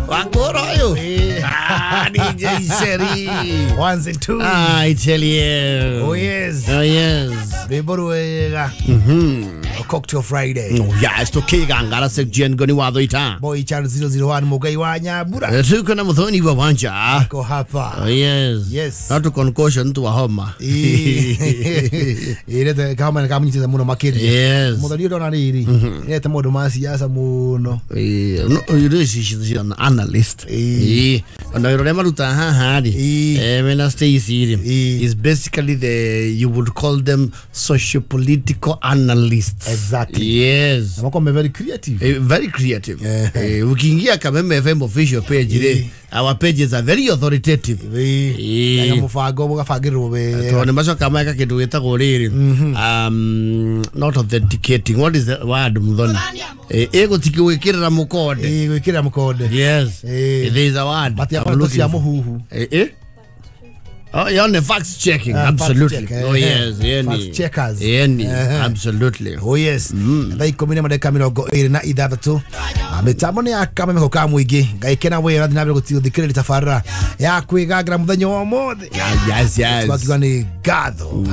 Wakoro yu. Ah, DJ Seri. Ones and twos. I tell you. Oh yes. Oh yes. Rwimbo rwega. Cocktail Friday. Oh yes, tukigangara section goni watho ita. Boy Charles 001 Mugai wa Nyambura. Tuko na Muthoni wa Wanja. Ko hapa. Oh yes. Yes. Not to concussion to homa. Irete kama kama nyitete muno makiria. Yes. Muthoni ndona riri. Irete mundu ma siasa muno. No, she's an analyst. Ona wira maruta haha ri. Mena Stacy ri. Is basically the, you would call them socio-political analysts. Exactly. Yes. Na wako very creative. Very creative. Ukiingia Kameme FM official page ri, our pages are very authoritative. Na mufango mugabangirwo we. Tondu macoka meka kindu gitagwo riri. Not authenticating. What is the word Muthoni? Egũtikĩwĩkĩrĩra mũkonde. Gwĩkĩrĩra mũkonde. Yes. There is a word. But ya cia mũhuhu. Oh, you're on the fact checking. Absolutely. Fact check, oh yes, yeah. Fact checkers. Yeah, absolutely. Oh yes. Thaa ikumi na madagĩka mĩrongo ĩrĩ na ithathatũ. Mĩtambo nĩ ya Kameme ka mũingĩ. Ngai kena wĩra na mbere gũthikĩrĩria tabarĩra ya kwĩgangĩra mũthenya wa ũmũthĩ. Yes, yes. Twakiuga nĩ ngatho.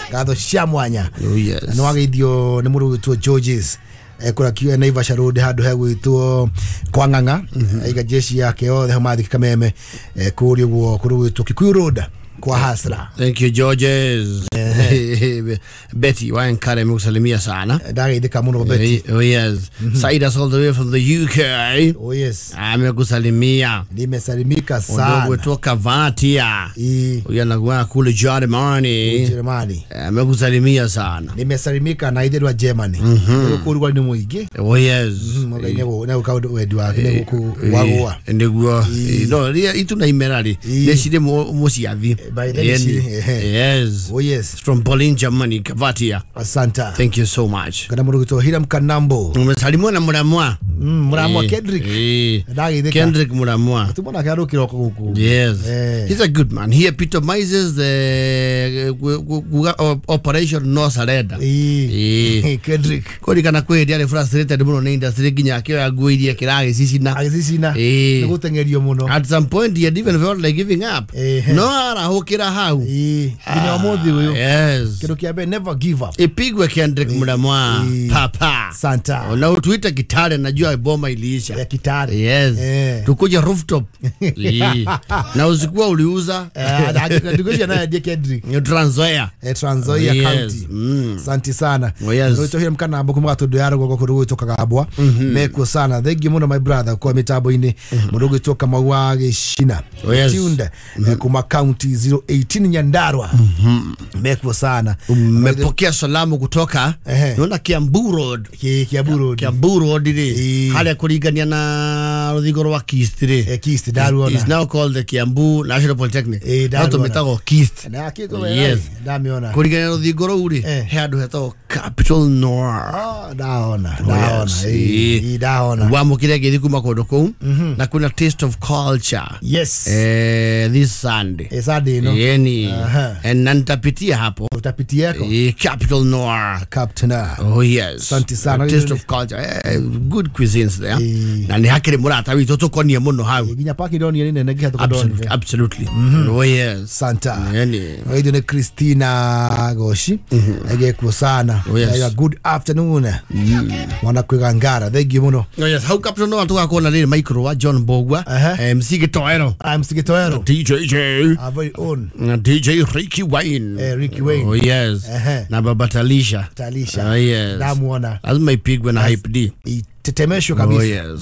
Ngatho cia mwanya. Oh yes. Na nĩwageithio nĩ mũndũ ũgwĩtwo Georges. Kũrĩa kiuga Naivasha Road handũ hegwĩtwo kwa Ng'ang'a. Aiga jeshi yake yothe hau mathiki Kameme. Kũrĩa ũguo kũrĩ gwĩtwo Kikuyu Road kwa Hasra. Thank you Georges. Betty Wankare amekusalimia sana. Ndageithĩka mũno Betty. Oh yes. Saida all the way from the UK. Oh yes. Amekusalimia. Nimesalimika sana. Ndugu kutoka Vatia. Huyu anakuwa kule Germany. Germany. Amekusalimia sana. Nimesalimika na ithe rwa Germany. Gũkũ nĩ mũingĩ. Oh yes. Mũgai nĩ gũka wendi wake nĩ gũkũ wagũa. Nĩguo. No, itu na imera rĩ. Nĩ cirĩ mũciathi. By then yes. Oh yes. From Berlin, Germany, Kavatia. Asante. Thank you so much. Kana mũndũ gwĩtwo Hiram Kanambo. Umesalimwa na Muramwa. Muramwa Kendrick. Kendrick Muramwa. Tumona kĩarũkĩra gũkũ. Yes. He's a good man. He epitomizes the operation no surrender. Kendrick. Kũririkana kwĩ hĩndĩ arĩ frustrated mũno nĩ industry nginya akĩoya nguo iria kĩragĩcicina. Agĩcicina. Nĩ gũteng'erio mũno. At some point he had even felt like giving up. No arahũkĩra hau. Nginya ũmũthĩ ũyũ. Yes. Kĩndũ kĩa mbere, never give up. Ipigwe Kendrick Muramwa. Papa. Santa. Na utuita Kitale, najua boma iliisha. Ya Kitale. Yes. Tukuja rooftop. Na usikuwa uliuza. Ndikuja naye ndiye Kendrick. Ni Trans Nzoia. Trans Nzoia County. Asante sana. Oh yes. Ndoito hiyo mkana ambo kuma gatundu ya rũgongo kũndũ gwĩtwo Kagambwa. Mekuo sana. Thank you mũno my brother kwa mitambo-inĩ. Mũndũ gwĩtwo Kamau wa Gĩcina. Oh yes. Tuned kuma county 018 Nyandarua. Mekuo sana. Umepokea salamu kutoka naona Kiambu Road. Kiambu Road. Kiambu Road ri haria kuringania na ruthingo rwa Kist ri. Kist ndaruona. Is now called the Kiambu National Polytechnic. No tumetagwo Kist. Na kiko yes. Ndamiona. Kuringania na ruthingo rũu ri he handu hetagwo Capital Noir. Ndaona. Ndaona. Ndaona. Wamukire ngithi kuma kundu kuu na kuna Taste of Culture. Yes. This Sunday. Sunday no. Yeni. Na nitapitia hapo. Utapitia yako? Capital Noir. Capital Noir. Oh yes. Asante sana. Taste of Culture. Good cuisines there. Na ni hakiri murata witũ tũkonie mũno hau. Nginya park ndonire nĩ nene nginya tũkondonire. Absolutely. Oh yes. Santa. Yeni. Oidio ni Christina Goshi. Egekuo sana. Oh yes. Good afternoon. Mwana kwigangara. Thank you mũno. Oh yes. Hau Capital Noir tugakorwo na rĩrĩ micro wa John Bogwa. MC Gitoero. MC Gitoero. DJ J. Our very own. DJ Ricky Wayne. Ricky Wayne. Oh yes. Na Baba Talisha. Talisha. Oh yes. Ndamuona. Lazima ipigwe na Hype D. Tetemesho kabisa. Oh yes.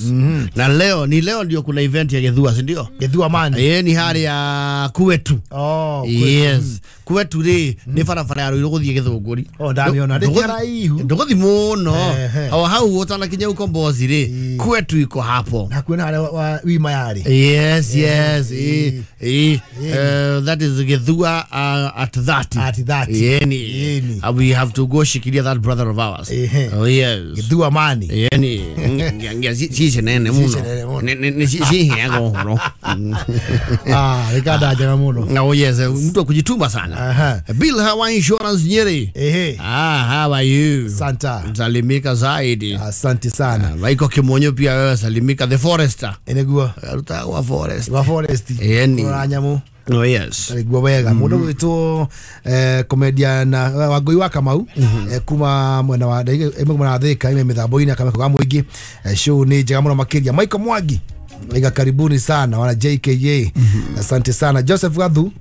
Na leo ni leo ndio kuna event ya Gethua, si ndio? Gethua man. Ni hali ya Kwetu. Oh, Kwetu. Yes. Kwetu ri ni barabara ya Ruiru guthie Githunguri. Oh, ndamiona. Ndi haraihu. Nduguthi muno. Hau hau utanakinya ukombozi ri. Kwetu iko hapo. Na kwina haria wa wima yari. Yes, yes. That is Gethua at 30. At 30. Yeni. We have to go shikilia that brother of ours. Oh yes. Gethua man. Yeni. Cici nene muno. Cicinene mũno. Ciheaga ũhoro. Ah, rĩkanda njega mũno. Oh yes, mtu wa kujituma sana. Aha. Bill Hawa Insurance Nyeri. Ehe. Ah, how are you? Santa. Salimika zaidi. Asante sana. Waiko Kimonyo pia wewe salimika the forester. Nĩguo. Arutagwa forest. Wa forest. Ĩni. Kũrora nyamũ. Oh yes. Nĩguo wega. Mũndũ gwĩtwo comedian Wangũi wa Kamau kuma mwena wa ĩmwe mwena wa Thika ime mĩthambo-inĩ akameko ga mũingĩ. Show nĩ njega mũno makĩria. Michael Mwangi Iga karibuni sana wana JKA. Asante sana Joseph Gathu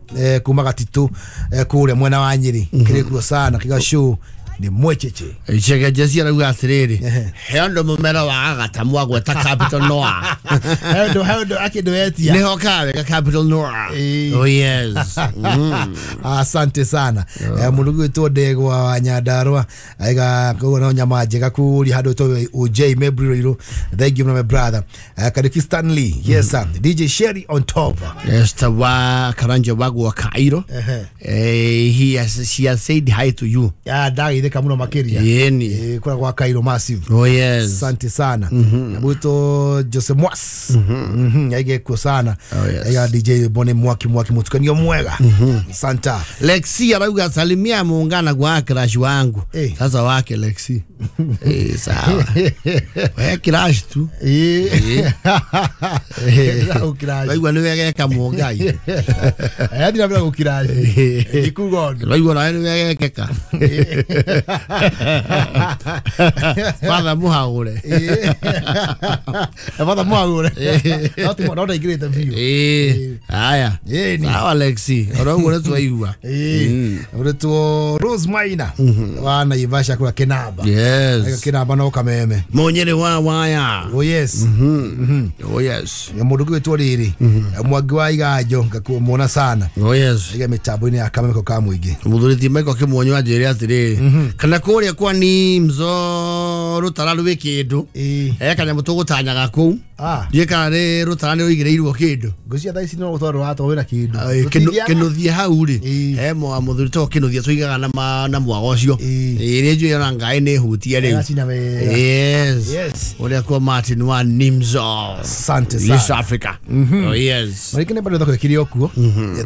kuma Gatitũ kũrĩa mwena wa Nyĩrĩ kĩrĩkuo sana kiga show ni mwecheche. Chege Jesse arauga atiriri. Ehe. He andũ mũmera wa agata mwagweta Capital Noah. Hendo akĩndũ etia. Nĩho kawega Capital Noah. Ĩĩ. Oh yes. Asante sana. Mũndũ gwĩtwo Ndegwa wa Nyandarua aiga koguo no nyama njega kũrĩa handũ to OJ Mebri Ruiru. Thank you my brother. Kariki Stanley. Yes sir. DJ Sherry on top. Esther wa Karanja wagwa Cairo. Ehe. He has she has said hi to you. Ya ndagithĩka mũno makĩria. Yeni. Kũrĩa gwa Cairo massive. Oh yes. Asante sana. Na mwito Jose Mwas. Aige kuo sana. Oh, yes. Aiga DJ Bone Mwaki Mwaki mutukanio mwega. Santa. Lexi arauga salimia muungana kwa crush wangu. Eh. Sasa wake Lexi. Sawa. We crush tu. Gũkiraci. Waigua nĩ wegeka mũngai. Yathi na mbere gũkiraci. Ndikuga ũndũ. Waigua nawe nĩ wegekeka. Father mũhagũre. Batha mwagũre. No ti no ndaingĩrĩte biũ. Haya. Ĩni. Sawa Lexi. Oro ũguo nĩ twaigua. Ũrĩtwo Rose Maina wa Naivasha kũrĩa Kĩnamba. Yes. Kĩnamba no Kameme. Mũnyĩrĩ wa waya. Oh yes. Oh yes. Mũndũ gwĩtwo rĩrĩ Mwangi wa Iganjo ngamuona sana. Oh yes. Aiga mĩtambo-inĩ ya Kameme ka mũingĩ. Mũthuri Michael Kĩmuonyo anjĩre atĩrĩrĩ kana kũrĩa kwa Nimzo rũtara rwĩ kĩndũ he kanyamũ tũgũtanyaga kũu Ah. ndiĩ kana nĩ rũtara nĩ rũigĩrĩirwo kĩndũ. Ngũcia thaa ici no gũtwarwo watwa wĩna kĩndũ. Kĩnũthia hau rĩ Ĩĩ. he mũthuri too kĩnũthia tũigaga na mwaga ũcio. Ĩĩ. Ĩrĩa njũĩ ona ngai nĩ hutie rĩu. Ĩgacina wega. Yes. Yes. Ũrĩa kwa Martin wa Nimzo. Asante East sana. Africa. Oh yes. Marĩkĩ nĩ bado thoko ĩkĩrĩ o kuo.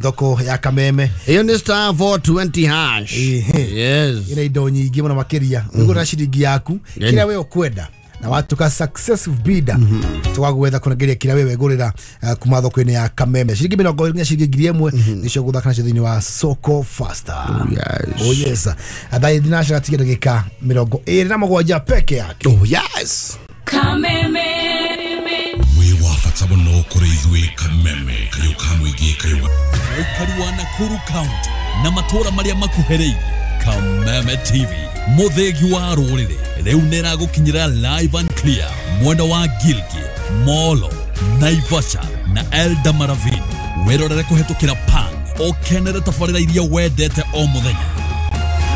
Thoko ya Kameme. Ĩyo nĩ star 420 hash. Ĩĩ. Yes. Ina indo nyingĩ mũno makĩria. Ũgũra ciringi yaku Ĩni. kĩrĩa we ũkwenda na watuka successive bidder tũgagwetha kũnengeria kĩrĩa we wegũrĩra kuma thoko-inĩ ya Kameme ciringi 20 nginya ciringi 1000 nĩcio gũthaka nacio thĩinĩ wa Soko Faster. Yes. Oh yes. Thaa thinacara tiga ndagĩka 27 peke yake. Oh yes. Kameme. Wĩ wa bata mũno kũrĩ ithuĩ Kameme kayũ ka mũingĩ kayũ Mũikari wa Nakuru County na matũũra marĩa makuhĩrĩirie Kameme TV mũthĩgi wa rũrĩrĩ rĩu nĩragũkinyĩra live and clear mwena wa Gilgil, Molo, Naivasha na Eldamaravini wĩrorere kũhetũkĩra Pang ũkenere tabarĩra iria wendete o mũthenya.